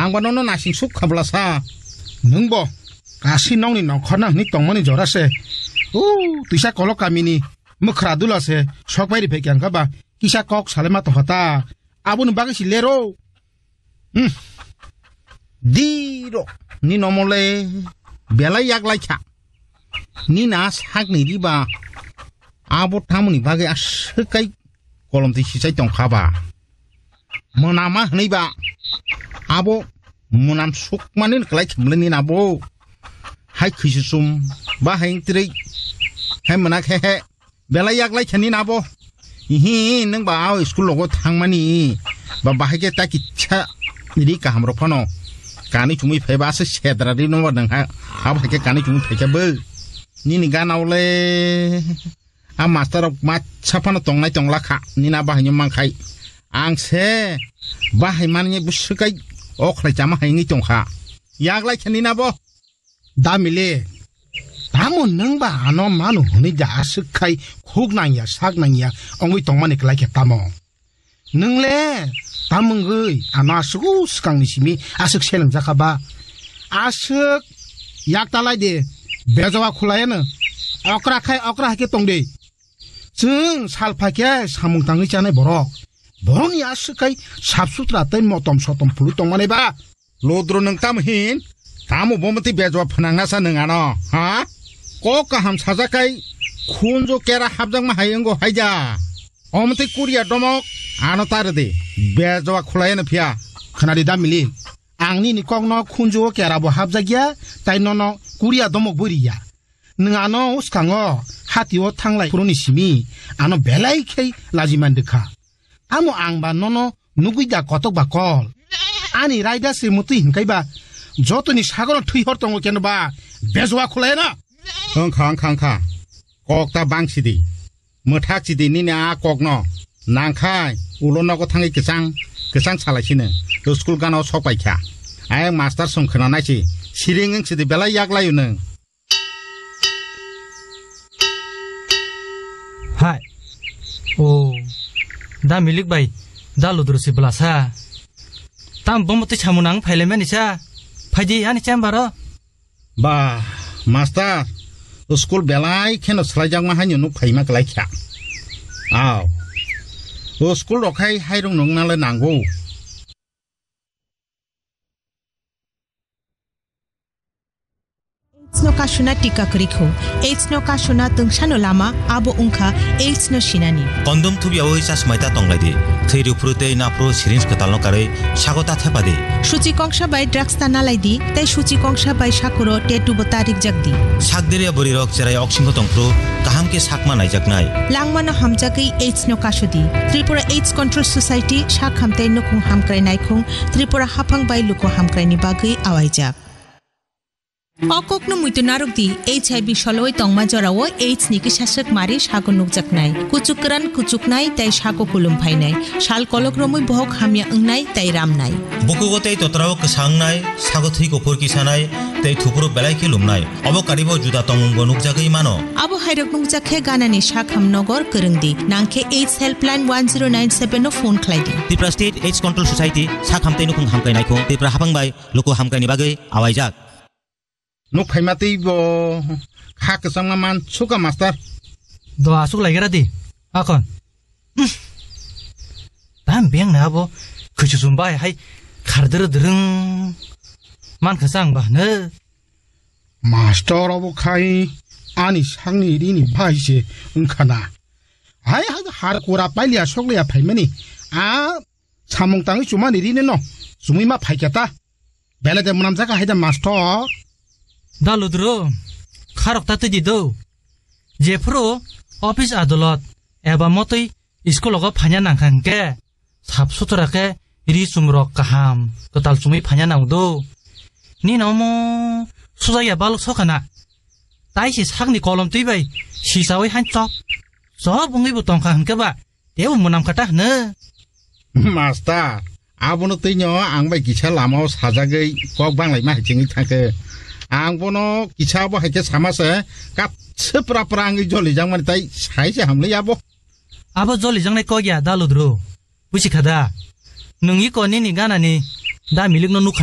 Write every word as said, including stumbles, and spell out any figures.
Ang ba nono nasing suk khabla sa. Nwng bo kasi nongni nongkhorna hwnwi tongmani jora se. U, twisa kolok kamini mwkhra dula se sok bai ri phai khe ang kha ba kisa kok salai ma tongkha ta. Aboni bagwi si lero. Hmm. Diro ni nomole belai yak lai kha. Ni na sak ni riba abo tamoni bagwi aswk kai kolom twi sichai tong kha ba. Mwnama hwnwi ba abo mwnam sukmani kwlai khe mwnwi ni na bo. Hai khwisi sum ba hai wng twi hai mwnakhe he. Belai yak lai khani na bo. Ihi, nwng ba o school logo thangmani. Ba bahai khe ta kicha ri kaham rok phano. Kani chumui phai ba se sedra ri no ba nang ha. Abo hai khe kani chumui phai khe bo. Nini gana ole. A master rok ma sa phano tongnai tongla kha. Nina bahai no mang khai. Ang se bahai mani bwswk kai o khlai chama hai wngwi tong kha. Yak lai khani na bo. Damile, tamo nwng ba ano mano hwnwi da aswk khai khuk nangya, sak nangya, wngwi tongmani kwlai khe tamo? Nwng le, tamo wngwi ano aswk o swkangni simi aswk selengjakha ba? Aswk yak ta lai de, bejoa khulai ano. Okra khai okra hai khe tong de. Chwng sal phai khe samung tangwi chanai borok. Borokni aswk khai sap sutra tei motom sotom phulwi tongmani ba? Ludro nwng tamo hin? Tamo bo mwtwi bejwa phnangna sa nwng ano, ha? Kok kaham sajak kai khunju kera hapjakma hai wngo haida. O mwtwi kuriya domok ano ta rwdi, bejwa khwlaiya no phiya. Khwnadi da Mili, ang nini kokno khunju o kera bo hapjakya, tai nono kuriya domok bo riya. Nwng ano swkango hati o thanglai phuruni simi ano belai khe lajiman rwkha. Amo ang ba nono nugwi da kotok ba kol. Ani raida se mutwi hinkai ba jotoni sagoro thwi hor tongo keno ba bejwa khulai na. Wngkha, wngkha, wngkha. Kok ta bang sidi. Mwthak sidi nini a kokno. Nangkhai ulo nogo thangwi kisang, kisang salai sino. To school gana o sok pai kha. Ayang master song khna nai si. Siring wng sidi belai yak layu nung. Hai. O. Da Milik bai. Da Ludru si bwlasa. Tam bomo twi samung nang phailaimani sa. Phaidi ani chamber o. Ba, master. School belai kheno swlaijakma haino nuk phaima kwlai kha. Aw. O school rok khai hairung nung nale nango. AIDS no kasuna tika kwrwi kho. AIDS no kasuna tungsano lama abo wngkha AIDS no sinani. Kondom thubyawi chasmai ta tonglai di. Thwi rwphuru tei naphuru syringe kwtalno karwi sago ta thepa di. Suchi kongsa bai drugs ta nalai di, tei suchi kongsa bai sakuro tattoo bo ta rikjak di. Sak diriya bwrwi rok cherai oksingko tongphuru kaham khe sakma naijaknai. Langmano hamjagwi AIDS no kasudi. Tripura AIDS Control Society, sak hamtei nukhung hamkrai naikhung, Tripura haphang bai luku hamkraini bagwi awaijak. O kokno muitu narwk di, H I V soloi tongma jorao AIDS ni kisa swk mari sago nukjaknai, kuchuk kwran kuchuknai tei sago kulum phainai, sal kolok romwi bohok hamya wngnai tei ramnai. Bukugo tei totrao kwsa wngnai, sago thwi kuphur kisanai tei thupuru belai khe lumnai. Obo karibo juda tongmungbo nukjagwi mano. Abo hairok nukjak khe ganani sakham nogor kwrwng di, nang khe AIDS helpline one zero nine seven no phone khlai di. Tripura State AIDS Control Society, sak hamtei nukhung hamkrai naikhung, Tripura haphang bai luku hamkraini bagwi awaijak. Nuk phaima tei bo kha kwchangma man suka master. Do asuk laigra di, akon. Uff. Tam beng na bo, khuchusum bai hai khardr drung. Man khasang ba ne. Master obo khai ani sangni rini bai se wngkhana. Hai hai har kura pailia soklia phaimani. A Samung tangwi chumani rini no chumui ma phaikya ta. Belai de mwnamjak hai da master. Da Ludru, kharok ta twi di do. Jephuru office adolot eba motwi school ogo phanya nangkha hwnkhe sap sutra khe ri chumrok kaham kwtal chumui phanya nango do. Nini omo sujakya balok sokhana. Tai se sakni kolom twi bai sisawi han chop chop wngwi bo tongkha hwnkhe ba tebo mwnam kha ta hwno. Master, abono twino ang bai kisa lamao sajagwi kok banglaima hai chengwi thangkhe. Ang bono kisa bo hai khe sama se, kap se pra pra wngwi jolijakmani tai sai se hamlai abo. Abo jolijaknai kok ya da Ludru. Busi kha da? Nwng iko nini ganani da Milikno nukha